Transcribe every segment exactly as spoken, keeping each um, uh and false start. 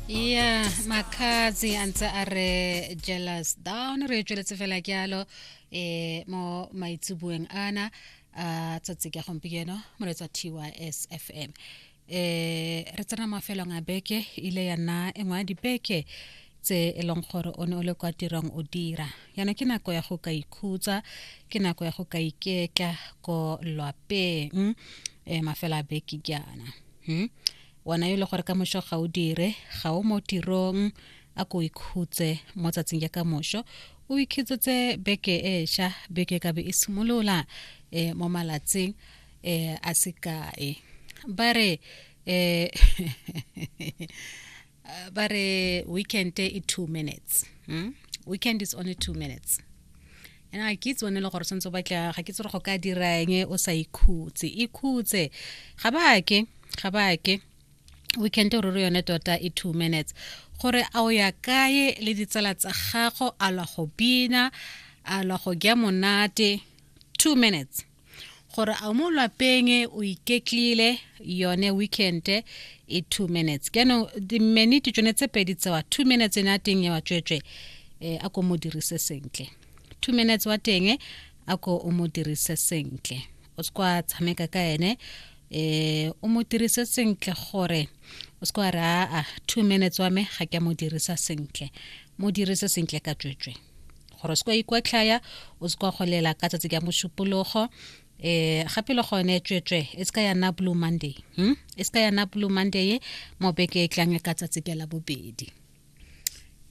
Ya Makhadzi a ntse a re "Jealous Down". Re tsweletse fela jalo um mo maitseboeng ana a tsatsi ka gompieno, moretsa T Y S F M. um re tsena mafelong a beke, ile ya nna e nngwe ya dibeke tse e leng gore o ne o le kwa tirong o dira. Yana ke nako ya go ka ikhutsa, ke nako ya go ka iketla ko lwapeng um mafelo a beke jaana. hmm? Wena yo e le gore ka moso ga o dire, ga o mo tirong, a ko ikhutse mo tsatsing ya ka moso, o ikhutsetse beke e ša. Beke ka be e simolola um mo malatsing um a sekae. Ba re um ba re weekend e two minutes, hmm? Weekend is only two minutes. Ene ga ke itse one le gore tshwanetse o batla, ga ke itse gore go ka dira eng o sa ikhutse. Ikhutse, ga ba ke ga ba ke weekend ruri yone tota e two minutes. Gore a o ya kae le ditsala tsa gago, a lwa go bina, a lwa go ja monate, two minutes. Gore a mo lwapeng o iketlile, yone weekend e two minutes. Jaanong diminute tsone tse pedi tsewa, two minutes ene a teng ya wa tswetswe, um a ko mo dirise sentle. Two minutes wa teng, a ko o mo dirise sentle, o se kwa tshameka ka ene, eh o mo dirise sentle, gore o se kwa re, "Aa, two minutes wa me ga ke a mo dirisa sentle." Mo dirise sentle ka tswetswe, gore o se kwa ikwatlhaya, o se kwa golela ka tsatsi ka Mošupologo. eh gape le gone, tswetswe, e se ka ya nna Blue Monday, hmm? E se ka ya nna Blue Monday mo beke e tlang ka tsatsi ke la bobedi.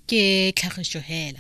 Ke tlhagišo hela.